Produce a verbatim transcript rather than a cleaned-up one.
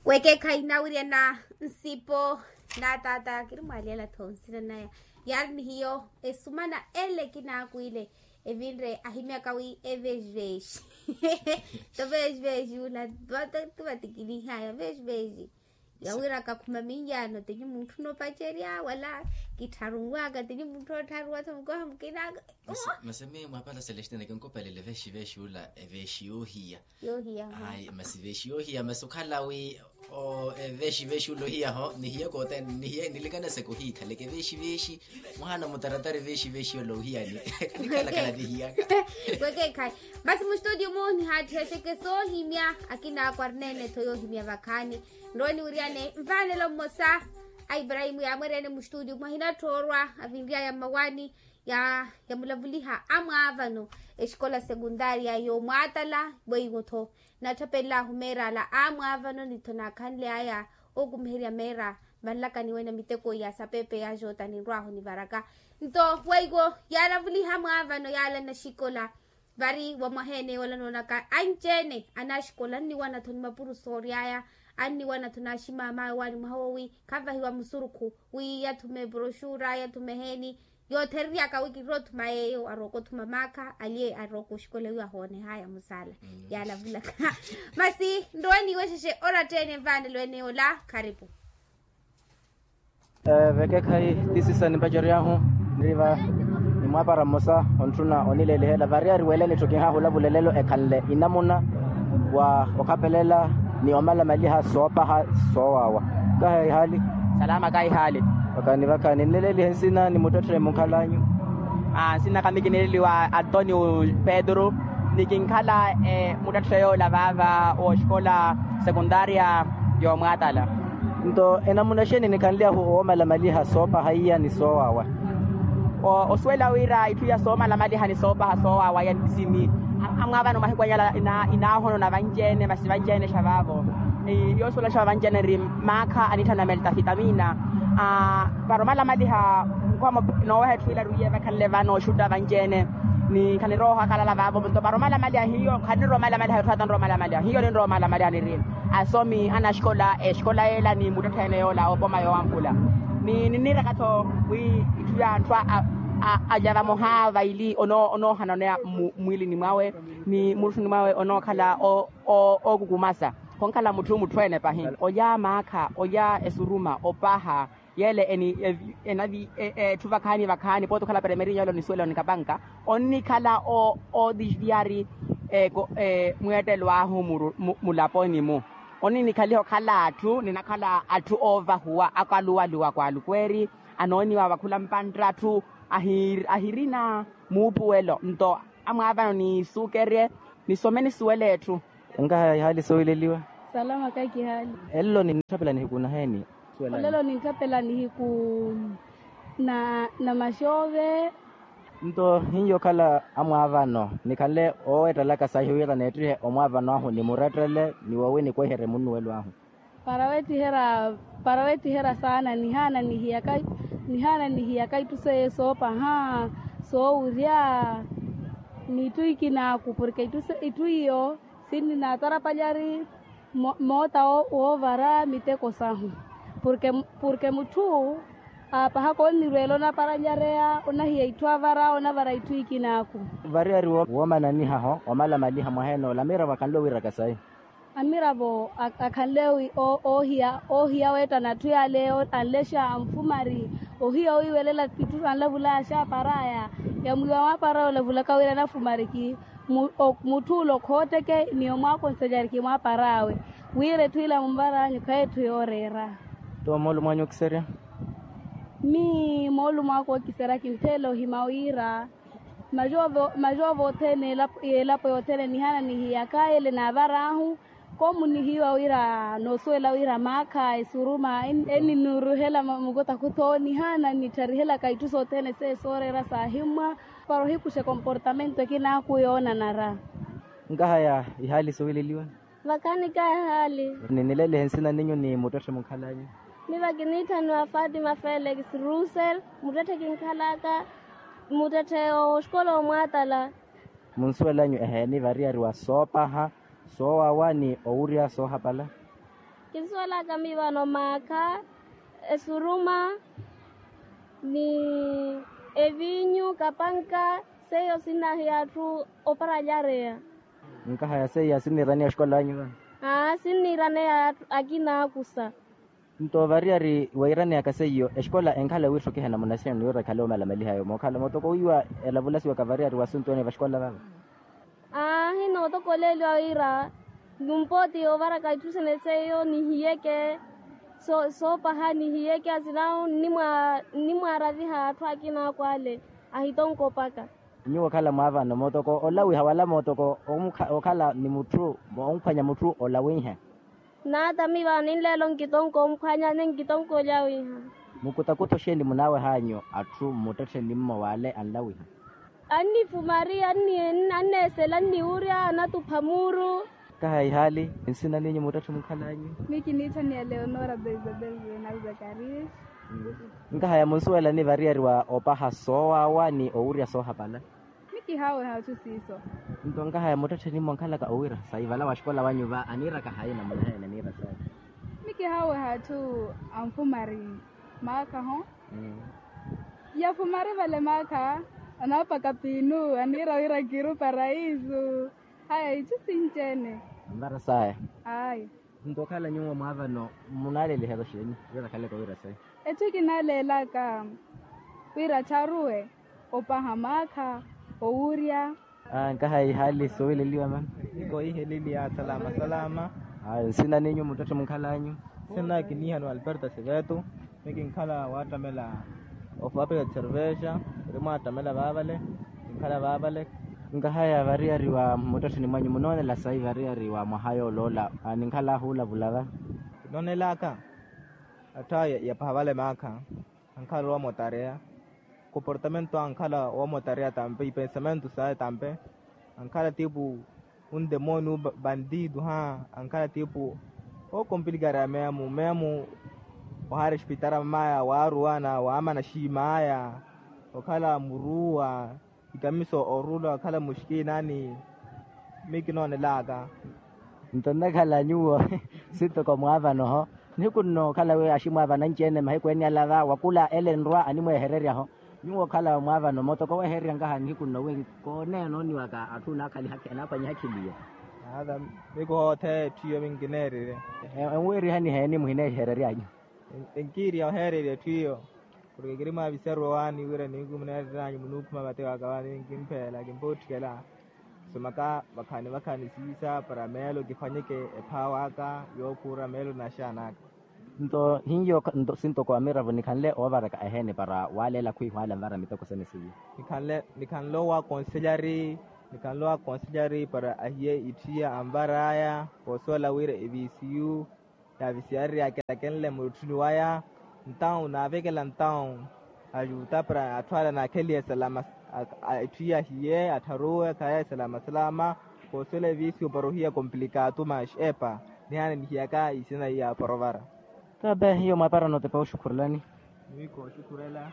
Wekeekhayi nawirya na nsipo na tata kirimwaliyela tho nsina naya. Yaari ni hiyo esumana ele kinakwile evinre ahimyaka wi eveji veji. To veji veji ula vativatikilihaya veji veji. Yawira kakhuma minyano tenyu munthu nopacerya wala kittharunwaka tenyu munthu ottharuwa tho mukoha mukinaka. Masi mii mwapala celestina kinkopelele veshi veshi ula eveshi yohiya. Yohiya. Ayi masi veshi yohiya masi okhala wi o eveshi veshi ula ohiya ho nihiye kote nihiye nilikanaseke ohikhaleke veshi veshi. Mwahaana mutaratari veshi veshi ula ohiyani. Kanikhalakhala nihiyaka. Wekekhayi. Masi mustudio mu nihaatthihexeke soohimya akina akwarnene tho yoohimya vakhaani. Nrowe niwiryane mvaanelo mmosa a ibrahimu yaamweryane mustudio mwahinatthorwa avinryaya mmawani ya yamulavuliha amwaavano exikola sekundaria yoomwaatala weiwo-tho. Natthapellahu meerala amwaavano ni-tho naakhanly'aya okumiherya meera vanlakaniwe na miteko ya sapepe ya jota ninrw'ahu nivaraka. Nto weiwo yaalavuliha amwaavano yaalanna xikola vari wa mwaha ene yoola noonaka anci-ene anaaxikola anniwana-tho ni mapuro soory'aya. Anniwana-tho naaximamawe waani mwaha woowi khanvahiwa musurukhu wi yathume broxura yathume heeni. Yoothereryaaka wi kinrowa othuma yeeyo arooka othuma maakha aliye arooka oxikola wi ahoonehaya musaala. Yaalavulaka masi nrowe niiwexexe oratta-ene nvaanelo ene yoola. Kharipu. Vekekhayi tisisa nimpacery'ahu niriva ni mwaapara mmosa ontthuna onileelihela variyari weelene-tho kinhahulavulelelo ekhanle inamuna wa okhapelela ni omalamaliha soopaha soowaawa. Kaha ihaali. Salama kaha ihaali. Vakhaani vakhaani nnileelihe nsina ni muttetthe munkhal'anyu. Nsina kami kinileeliwa antonio pedro ni kinkhala muttetthe yoola vaava wooxikola sekundaria. Yoomwaatala. Nto enamuna xeeni nikhanly'ahu woomalamaliha soopaha iya ni soowaawa? Osuwela wira itthu iya soomalamaliha ni soopaha soowaawa iya ntisimi. Amwaavano mahiku anyala inaahonona vanci-ene masi vanci-ene xa vaavo. Yoosuwela xa vanci-ene eri maakha anitthana melta fitamina. Para omalamaliha nkhwamo nooweha etthu ila eri wiiye vakhanle vano oxutta vanci-ene. Ni khanirooha khalala vaavo nto para omalamaliha hiyo khaniroomalamaliha etthu ata nroomalamaliha hiyo ninroomalamaliha niri asomi anaxikola exikola yeela ni muttetthe ene yoola opoma yoowampula. Ni niniraka-tho wi itthu ya anthu alya vamoha vaili onoohana oneya mmwilini mwawe ni mutthuni mwawe onookhala ookukumasa. Khonkhala mutthu mutthu ene pahi olya maakha olya esuruma opaha. Yeele eni enavi etthu vakhaani vakhaani pooti okhala peremerinyo ole onisuwela onikapanka onnikhala oodisviyari mweettelo ahu mulaponi-mu. Oninikhaliha okhala atthu ninakhala atthu oovahuwa akaluwaluwa kwaalukweeri anooniwa vakhula mpantt'atthu ahirina muupuwelo nto amwaavano niisukerye nisome nisuwele etthu. Enkaha ihaali soowileliwa. Salama kakihaali. Ello nintthapela nihiku naheeni? Olelo nintthapela nihiku na namaxoove. Nto hiyo okhala amwaavano nikhanle oowettalaka sahi wira neettihe omwaavano ahu ni murettele ni woowi nikweiherye munnuwelo ahu. Para weettiherya para weettiherya saana nihaana nihiyaka nihaana nihiyaka itthu seiyo soopaha soowurya n'itthu ikinaaku porke itthu iyo sinninaatarapalyari moota woovara miteko sahu. Porke mutthu aapahaka onnirweela onaparalyareya onahiya itthu avara onavara itthu ikinaaku. Variyari woomananihaho omalamaliha mwaha enoola amiravo akhanle owiiraka sayi. Amiravo akhanle oohiya weettana atthu yaale anlexa anfumari ohiya owiiwelela itthu anlavulaya xaaparaya. Yamwiiwa mwaapara olavulaka wira anafumariki mutthu ula okhootteke ni omwaakonselyariki mwaaparawe wira etthu ila mumvaranyu khayi etthu yooreera. Toomoolumo anyu okiserya. Mii moolumo aka okiserya kinttheela ohima wira majoove othene elapo yothene nihaana nihiyaka ele naavaraahu. Koomunihiwa wira noosuwela wira maakha esuruma eninuruhela mukotakho tho nihaana nittarihelaka itthu sothene seye sooreera saahimmwa. Para ohikuxa ekomportamento ekinaaku yoonanara. Nkahaya ihaali suwileliwa. Vakhaani kahihaali. Ninilelihe nsina ninyu ni muttetthe munkhalanyu. Miva kiniitthaniwa fatima felix russel muttetthe kinkhalaka muttetthe oxikola omwaatala. Munsuwelanyu eheeni variyariwa soopaha soowawa ni owurya soohapala. Kinsuwelaka miivano maakha, esuruma, ni eviinyu kapanka. Seiyo sinnahiya atthu oparalyareya. Nkahaya seiya sinniiraneya oxikola anyu vano? Aa sinniiraneya akina akusa. Nto variyari weiraneyaka seiyo exikola enkhala wiitthu kiha enamuna sina niwira ekhale omalamalihayo mookhala mootoko wiiwa elavulasiwaka variyari wa asuntu ene vaxikola vava. Aahi nootokoleeliwa wira numpooti ovaraka itthu sene seiyo nihiyeke soopaha nihiyeke asinawu nnimwaaraviha atthu akina akwale. Ahitonko opaka. Nyuwo okhala mwaavano mootoko olawiha wala mootoko okhala ni mutthu onkhwanya mutthu olawiha. Naatami vano ninleelo nkitonko omphwanya ni nkitonko olyawiha. Mukutakuta oxeeni munaawehanyu atthu mmuttettheni mmowaale anlawiha? Annifumari anneesela anniwurya anatupha muuru. Kaha ihaali nsina ninyu muttetthe munkhalanyu? Mikiniittha ni aleonora beizabel. Zakarias. Nkahaya munsuwelani variyari wa opaha soowaawa ni owurya soohapala? Mikihaaweha atthu siiso. Nto nkahaya muttettheni mmonkhalaka owira sayi vala waxikola wanyu va aniiraka hayi namuna heene aniira sayi? Mikihaaweha atthu anfumari maakha ho. Yafumari vale maakha anaapaka piinu aniira wira kiru paraisu. Haya itthu sinci-ene. Anvara saya. Ayi. Nto okhala nyuwo mwaavano munaalelihaka xeeni? Wira khaleke owira sayi? Etthu kinaaleelaka wira attharuwe opaha maakha owurya. Nkaha ihaali suwileliwa mano. Nkoiheleliya salama salama. Nsina ninyu muttetthe munkhalanyu? Nsina kiniihaniwa alberto seveto. Mikinkhala waattamela ofapeka cervexa. Ori mwaattamela vaavale. Kinkhala vaavale. Nkahaya variyari wa muttettheni mwanyu munoonela sayi variyari wa mwaha yooloola? Ninkhala ahuulavula va. Kinoonelaka atthu aya yapaha vale maakha. Ankhala owamotareya. Comportamento ankhala owamotareya tampe ipensamento saya tampe. Ankhala tipu undemonio bandido ha. Ankhala tipu okompilikareya meemu meemu. Ohaari espitara mamaya waaruwana waamana xiimaya. Okhala muruwa. Ikamiso orula okhala muxkiina ni mikinoonelaka. Nto nnakhala nyuwo sintoko mwaavano ho. Nihiku nno okhala wi aximwaavana anci-ene mahiku ene alava wakula ele nrwa animweehererya ho. Nyuwo okhala mwaavano mootoko weehererya nkaha nihiku nno wi kooneya nooniwaka atthu anaakhaliha anaakhwanyiha khiliyo. Miku hoothe etthu iyo minkineererye. Enwiirihani heeni muhineehereryanyu? Enkiiriha oheererya etthu iyo. Porke kiri mwaaviserya owaani wira nihiku muneereryanyu munuukhuma vate waka waani kimpheela kimpootthikela. Kusomaka vakhani vakhani siisa para meelo kiphwanyeke ephaawa aka yookhuura meelo naxaana aka. Nto hiyo nto sintoko amiravo nikhanle oovaraka eheene para waaleela khwiihwaala nvara miteko sene siyo. Nikhanle nikhanle owa konselyari. Nikhanle owa konselyari para ahiye itthiya anvar'aya. Koosuwela wira evisiyu yaavisiyarerya akelakenle murutthuni waya. Ntawu naavekela ntawu ajuta para atthu ala naakhelihe salama. Etthu iya ahiye attharuwe khaya salama salama. Koosuwela evisiyu para ohiya komplikatu max epa. Nihaana nihiyaka isina iya porovara. Tabe hiyo mwaapara nootepa oxukhurelani. Niwikooxukhurela.